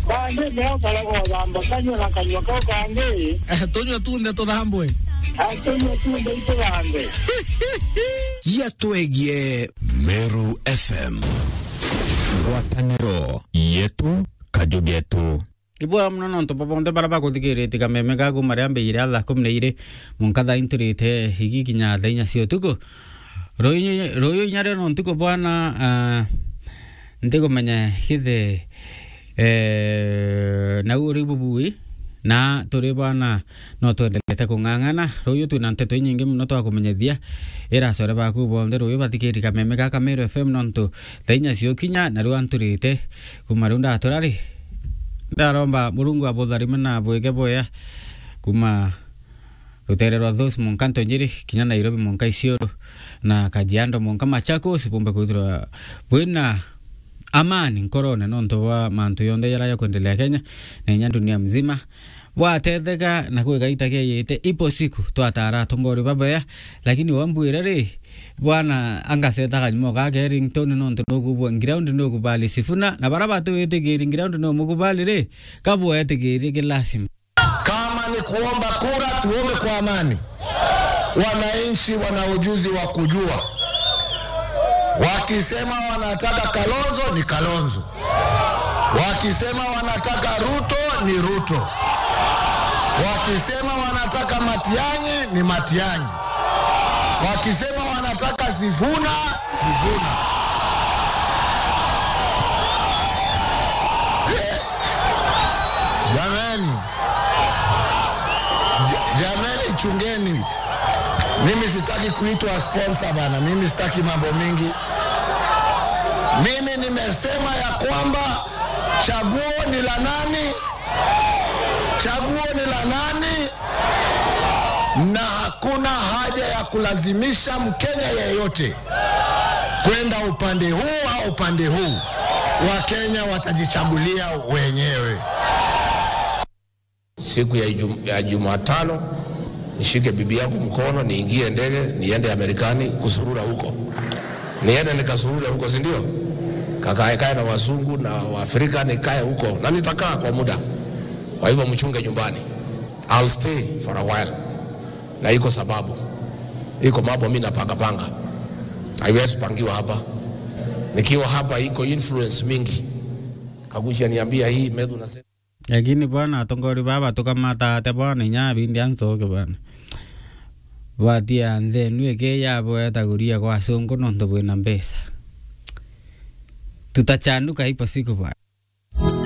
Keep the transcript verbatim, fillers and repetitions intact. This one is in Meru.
Kangĩ neo karega ũthamba kanyua na kanyua kau kangĩ. Eh, tũnyua tunthe tũthambwe. Ah, tũnyua tunthe itũthambwe. Gia twegie Meru F M. Ngwatanĩro yetu, kaju getu. Ibwega mono nontu bwa bonthe baria bakuthikiritie kameme gaku maria mbijire thaa kumi na iri mwanka thaa inturite igi kinya thaa inya cia utuku. Ruyu, ruyu inya rio no ntuku bwana, ah, ntikumenya githe, eh, nau uri bubui, na turi bwana no twendelete kung'ang'ana. Ruyu twina nteto inyingi mono twakumenyithia. Ira acore baku bonthe ruyu bathikiri kameme gaka Meru F M nontu thaa inya cio kinya, na riu anturite. Kuma riu ndatura ri, ndaromba Murungu abutharime na abwike bwea. Kuma rutere rwa Thus mwanka Ntonjiri, kinya Nairobi mwanka Isiolo, na Kajiado mwanka Machakos, bumbe kwithirwa bwina amani nkorone nontu bwa mantu yonthe jaria jakwendelea Kenya na inya dunia mzima. Bwatetheka na kwigaita kieyite, ipo siku twatara atongori babea, lakini wambwire ri, bwana, angaseta kanyumo ga Carrington nontu nukubwa ground nukubali Sifuna, na bara batiwitikiri ground numukubali ri, kabwetikiri ki lazima. Kama ni kuomba kura, tuombe kwa amani. Wananchi wana ujuzi wa kujua. Wakisema wanataka Kalonzo, ni Kalonzo. Wakisema wanataka Ruto, ni Ruto. Wakisema wanataka Matiang'i, ni Matiang'i. Wakisema wanataka Sifuna, Sifuna. Eh, jamani. Ja-, jamani, chungeni. Mimi sitaki kuitwa sponsor bana. Mimi sitaki mambo mingi. Mimi nimesema ya kwamba chaguo ni la nani? Chaguo ni la nani? Na hakuna haja ya kulazimisha Mkenya yeyote kwenda upande huu au upande huu. Wakenya watajichagulia wenyewe. Siku ya Ijum-, ya Jumatano, nishike bibi yangu mkono, niingie ndege, niende Amerikani kuzurura huko. Niende nikazurure huko, si ndio? Kakae kae na wazungu na Waafrika, nikae huko. Na nitakaa kwa muda. Kwa hivyo mchunge nyumbani. I'll stay for a while. Na iko sababu. Iko mambo mimi napanga panga. Haiwezi pangiwa hapa. Nikiwa hapa iko influence mingi. Kagucia niambia hii, Methu nasema. Lakini bwana, atongori baba tukamata ate bwana, inya bindi antoke bwana. Bwatia nthenu eke yabo etaguria kwa sungu nontu bwina mbeca. Tutachanuka ipo siku bwana.